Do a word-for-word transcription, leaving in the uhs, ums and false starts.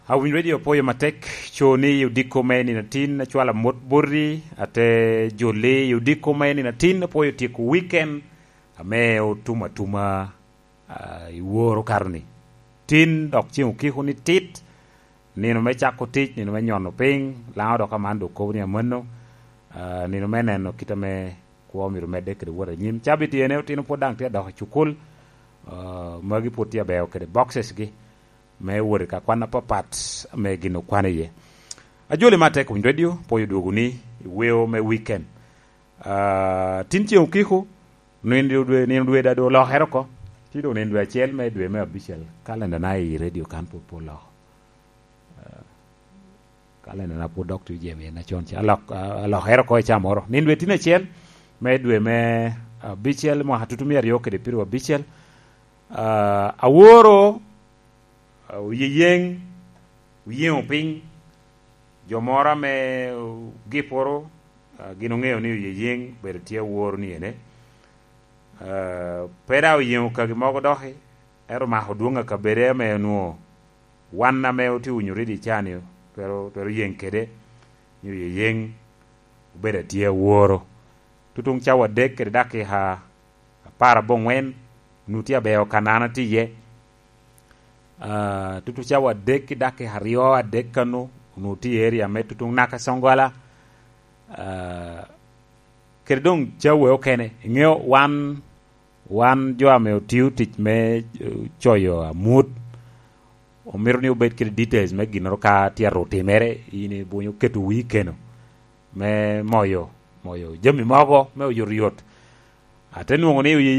Awinyo Radio, opwoyo matek. Co ni i odiko me nino atin, acwalo amot boti, ate jo li i odiko me nino atin, opwoyo tyeko weekend ame otum atuma, ah, i woro kato ni. Tin dok ceŋ okiko ni tit, nino me cako tic, nino me nyono piny, Laŋo dok aman dok kobo ni amanno, ah, nino me neno kit ame kwo myero medde kede wot anyim. Cabit ene otino pwod daŋ tye adok i cukul, ah, magi pwod tye abeo kede boxes gi me wot i ka kwan apapat ame gin okwano iye. Ajoli me Ateko Winy Radio, pwoyo dwogo ni i weo me weekend. Ah, tin ceŋ okiko, nino dwe, nino dwe da doŋ olokere oko. Tye doŋ nino dwe acel me dwe me abicel. Kalenda na i radio kan pwod pe oloko. Ah, kalenda na pwod dok tye jemi en acon ca. Alok-, ah, alokere oko i ca moro. Nino dwe tin acel me dwe me abicel, mwaka tutu mia aryo kede pyeraryo abicel. Ah, aworo, ah, oyeyeŋ, oyeŋo piny, jo moro ame, uh, giporo, ah, gin oŋeo ni oyeyeŋ bedo tye aworo ni ene. Ah, pe daŋ oyeŋo kagi mogo doki, ento omako dwoŋ akabede ame onwoŋo wan ame otye winyo redio ca ni twero, twero yeŋ kede, ni oyeyeŋ obedo atye aworo. Tutuŋ cawa adek kede dakika apar aboŋwen, onwoŋo tye abeo ka an atye iye. Ah, tutuŋ cawa adek ki dakika aryo adek kano, onwoŋo tye i area me tutuŋ naka Songwala. Ah, kede doŋ cawa okene, iŋeo wan, wan jo ame otio tic me, eh, coyo amut, omito ni obed kede details me ginnoro ka tye aru timere, in ibunyo keto wii keno me moyo, moyo jami mogo me oyotoyot. Ate nwoŋo ni oye